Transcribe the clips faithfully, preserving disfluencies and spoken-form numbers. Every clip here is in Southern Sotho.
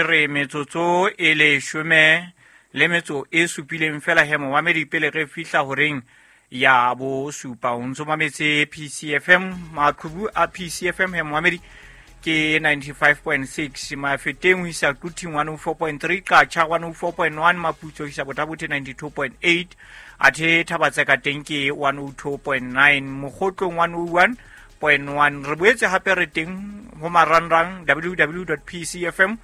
Re metsotso e leshome le metso e supileng fela he momamedi pele re fihla horeng ya bosupa. O ntso mametse P C F M, maqhubu a P C F M he momamedi ke ninety-five point six, Mafeteng ho isa Quthing one oh four point three, Qacha one oh four point one, Maputsoe ho isa Botha-Bothe ninety-two point eight, athe Thabatseka teng ke one oh two point nine, Mokgotlong one oh one point one. Re boetse hape re teng ho marangrang w w w dot p c f m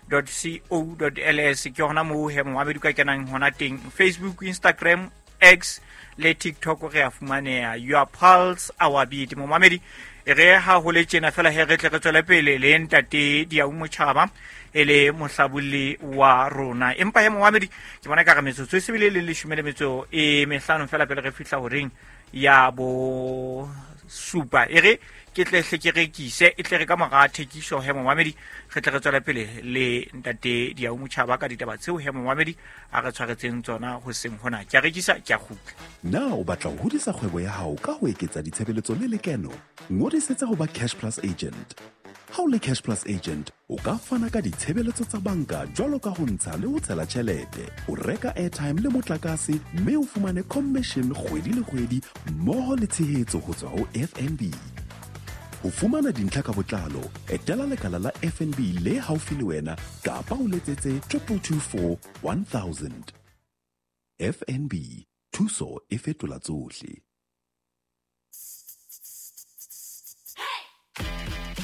dot co dot l s, ke hona moo he momamedi ka kenang hona teng. Facebook, Instagram, X le TikTok re a fumaneha. Your pulse, our beat. Momamedi, e re ha ho le tjena fela he re tle re tswele pele le ntate Diau Motjhaba e le mohlabolli wa rona. Empa he momamedi, ke bona ka re metsotso e sebile le leshome le metso e mehlano fela pele re fihla horeng ya bo supa. E re ke tle hle ke rekise, e tle re ka mora thekiso he momamedi, re tle re tswele pele le ntate Diau Motjhaba ka ditaba tseo he momamedi a re tshwaretseng tsona hoseng hona. Ke a rekisa, ke a kgutla. Na o batla ho hodisa kgwebo ya hao ka ho eketsa ditshebeletso le lekeno? Ngodisetsa ho ba Cash Plus agent. Ha o le Cash Plus agent, o ka fana ka ditshebeletso tsa banka jwalo ka ho ntsha le ho tshela tjhelete, o reka airtime le motlakase, mme o fumane commission kgwedi le kgwedi mmoho le tshehetso ho tswa ho F N B. Ho fumana dintlha ka botlalo, etela lekala la F N B le haufi le wena kapa o letsetse triple two four one thousand. F N B, thuso e fetola tsohle.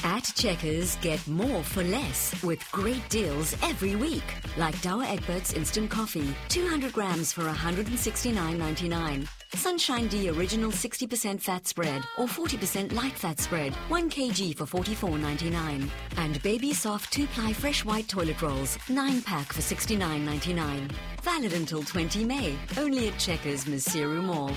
At Checkers, get more for less with great deals every week. Like Douwe Egberts Instant Coffee, two hundred grams for a hundred and sixty-nine ninety-nine. Sunshine D Original sixty percent fat spread or forty percent light fat spread, one kilogram for forty-four ninety-nine. And Baby Soft two-ply fresh white toilet rolls, nine pack for sixty-nine ninety-nine. Valid until twenty May, only at Checkers Maseru Mall.